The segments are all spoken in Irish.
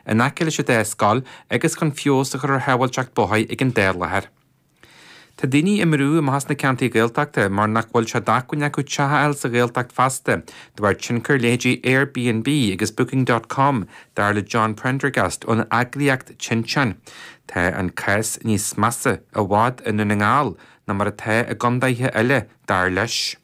in aice leis an dá scoil agus chun feabhas a chur ar shábháilteacht bóthair ag an dá láthair. Tá daoine i mbrú amach as na ceantair Ghaeltachta mar nach bhfuil sé d'acmhainn acu teach a fháil sa Ghaeltacht feasta de bharr tionchar leithéidí Airbnb agus Booking dot com, dar le John Prendergast ón eagraíocht Tinteán. Tá an cás níos measa i bhfad i nDún na nGall ná mar atá i gcondaetha eile, dar leis.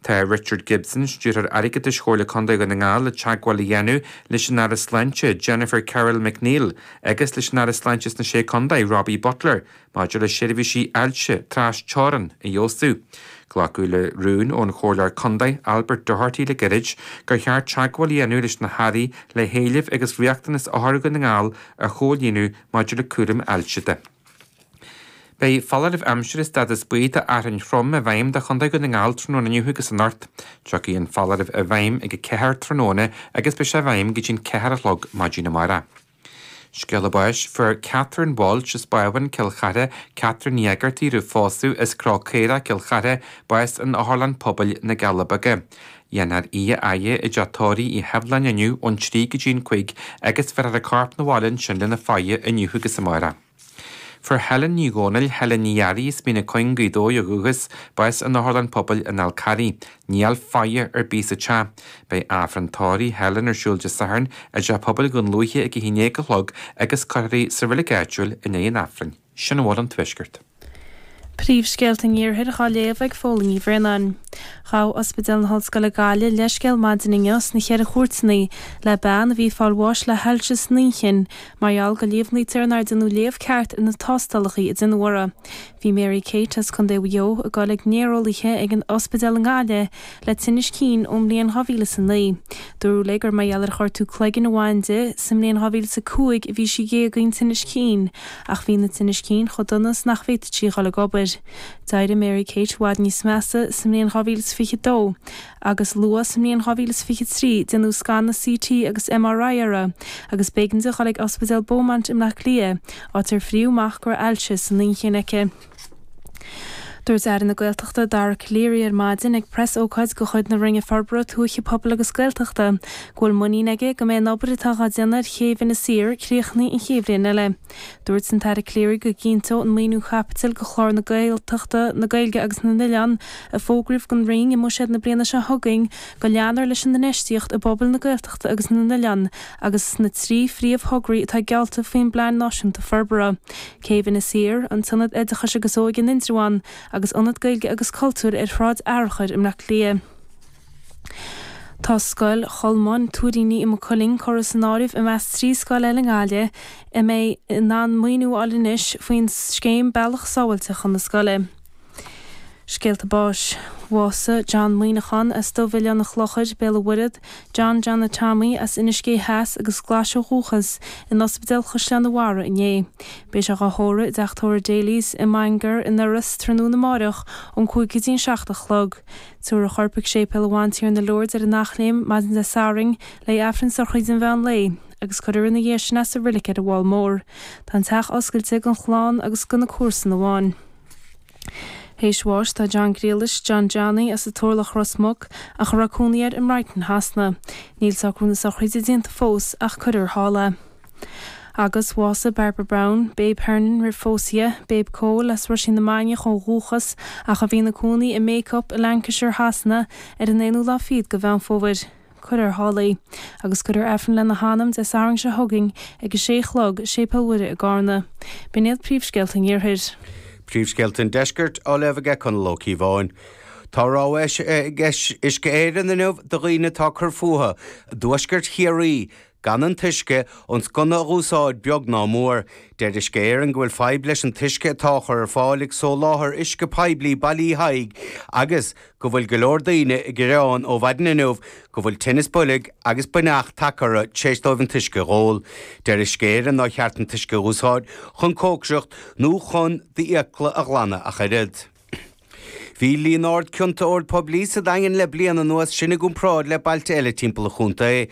Tá Richard Gibson, Stiúrthóir Airgeadais Chomhairle Contae Dhún na nGall le teagmháil a dhéanamh leis an Aire Sláinte, Jennifer Carroll MacNeill agus leis an Aire Sláinte sna Sé Contae, Robbie Butler, maidir le seirbhísí ailse tras teorann a fheabhsú. Glacadh le rún ón Chomhairleoir Contae, Albert Doherty le gairid gur cheart teagmháil a dhéanamh leis na hAirí le héilimh agus riachtanais othair Dhún na nGall a chomhlíonadh maidir le cúram ailse de. Beidh foláireamh aimsire stádas buí d'fhearthainn throm i bhfeidhm do Chontae Dhún na nGall tráthnóna inniu agus anocht. Tiocfaidh an foláireamh i bhfeidhm ag 4 tráthnóna agus beidh sé i bhfeidhm go dtí'n 4 a chlog maidin amárach. Scéala báis, Fuair Catherine Walsh as Bábhún, Cill Chartha, Catherine Ní Éigeartaigh roimh phósadh, as Cró Caorach, Cill Chartha, bás in Otharlann Pobail na gCealla Beaga. Dhéanfar í a fhaire i dteach tórraimh Uí Sheibhleáin inniu ón 3 go dtí'n 5 agus bhéarfar a corp 'na bhaile ansin lena faire inniu agus amárach. Fuair Helen Ní Dhomhnaill, Helen Ní Fhearraigh as Mín an Chuing, Gaoth Dobhair ó dhúchas, bás in Otharlann Pobail an Fhál Carraigh. Níl faire ar bith sa teach. Beidh Aifreann tórraimh Helen ar siúl Dé Sathairn i dTeach Pobail Dhún Lúiche ag 11 a chlog agus cuirfear í sa reilig áitiúil i ndiaidh an Aifrinn. Sin a bhfuil ón Tuaisceart. Príomhscéalta an Iarthair dhá léamh ag Fódhla Ní Bhraonáin. Ghabh Ospidéal na hOllscoile Gaillimh leithscéal maidin inniu sna Cheithre Chúirteanna le bean a bhí ag fáil bháis le hailse san inchinn mar gheall go líomhnaítear nár déanadh léamh ceart ar na tástálacha a déanadh uirthi. Bhí Mary Kate as Contae Mhaigh Eo ag dul ag néareolaithe ag an ospidéal i nGaillimh le tinnis cinn ón mbliain 2009. Dúradh léi gur mar gheall ar ghortú cloiginn a bhain di sa mbliain 2005 a bhí sí ag éagaoint tinnis cinn ach bhí na tinnis cinn chomh dona is nach bhféadfadh sí a dhul ag obair. D'éirigh Mary Kate i bhfad níos measa sa mbliain 2022 agus luath sa mbliain 2023 déanadh scanadh CT agus MRI uirthi agus b'éigean di dhul ag Ospidéal Beaumont i mBleá Cliath, áit ar fríodh amach go raibh ailse san inchinn aici. Dúirt Aire na Gaeltachta Dara Calleary ar maidin ag preas-ócáid de chuid na Roinne Forbartha Tuaithe, Pobail agus Gaeltachta go bhfuil muinín aige go mbeidh an obair atá dhá déanamh ar chéibh Inis Oírr críochnaithe an chéad bhliain eile. Dúirt an tAire Calleary go gcinnteodh an maoiniú caipitil do chlár na Gaeltachta, na Gaeilge agus na nOileán a fógraíodh don Roinn i mBuiséad na bliana seo chugainn go leanfar leis an infheistíocht i bpobail na Gaeltachta agus na n-oileán agus sna 3 phríomh-thograí atá geallta faoin bPlean Náisiúnta Forbartha. Céibh Inis Oírr, an tIonad Oideachais agus Óige in Indreabhán agus Ionad Gaeilge agus Cultúir ar Shráid Fhearchair i mBleá Cliath. Tá Scoil Cholmáin, Tuairíní i Maigh Cuilinn curtha san áireamh i measc 3 scoil eile i nGaillimh a mbeidh in ann maoiniú a fháil anois faoin scéim Bealach Sábháilte chun na Scoile. Scéalta báis. Bhásaigh John Muineachán as Dubh-Oileán an Chlochair, Béal an Mhuirthead, John Johnna Tommy as Inis Gé Theas agus Glaise ó dhúchas, in Ospidéal Chaisleán an Bharraigh inné. Beidh sé dhá thórramh i dteach tórraimh Daly's i mBangar in Iorras tráthnóna amáireach ón 5 go dtí an 7 a chlog. Tabharfar a chorp ag Séipéal an Bhantiarna Lourdes ar an Eachléim maidin Dé Sathairn le Aifreann sochraide an mheán lae agus cuirfear ina dhiaidh sin é sa roilig ar an bhFál Mór. Tá an teach oscailte don chlann agus do na comharsana amháin. Théis bháis do John Ghriallais, John Johnny, as an Turlach Ros Muc, ach a raibh cónaí air i mBrighton Shasana. Níl socrú na sochraide déanta fós ach cuirfear thall é. Agus bhásaigh Barbara Browne, Babe Hernon roimh phósadh di, Babe Cole as Ruisín na Mainiach ó dhúchas ach a bhí ina cónaí i mBacup i Lancashire Shasana ar an aonú lá fichead de Mheán Fómhair. Cuirfear thall í, agus cuirfear Aifreann lena hanam Dé Sathairn seo chugainn ag a sé a chlog i Séipéal Mhuire i gCarna. B'in iad príomhscéalta an Iarthair. Príomhscéalta an Deiscirt á léamh aige Conall Ó Cíobháin. Tá rabhadh eisithe ag Uisce Éireann inniu do dhaoine atá ag cur fúthu i dtuaisceart Chiarraí gan an t-uisce ón sconna a dh'úsáid beag ná mór. Deir Uisce Éireann go bhfuil fadhb leis an t-uisce atá á chur ar fáil ag soláthar uisce poiblí Baile Uí Thaidhg agus go bhfuil go leor daoine ag gearán ó mhaidin inniu go bhfuil tinneas boilg agus buinneach tagtha orthu tar éis dóibh an t-uisce a dh'ól. Deir Uisce Éireann nár cheart an t-uisce a dh'úsáid chun cócaireacht nó chun d'fhiacla a ghlanadh ach oiread. Bhí líon ard cionta óil poiblí sa Daingean le bliain anuas, sin i gcomparáid le bailte eile timpeall an chontae.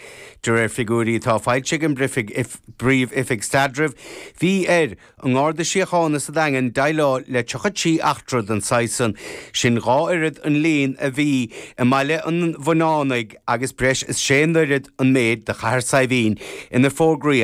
De réir figiúirí atá foilsithe ag an bPríomh-Oifig Staidrimh, bhí ar an nGarda Síochána sa Daingean déileáil le 33 eachtra den saghas san, sin dhá oiread an líon a bhí i mBaile an Bhuinneánaigh agus breis is sé n-oiread an méid do Chathair Saidhbhín inar fógraíodh.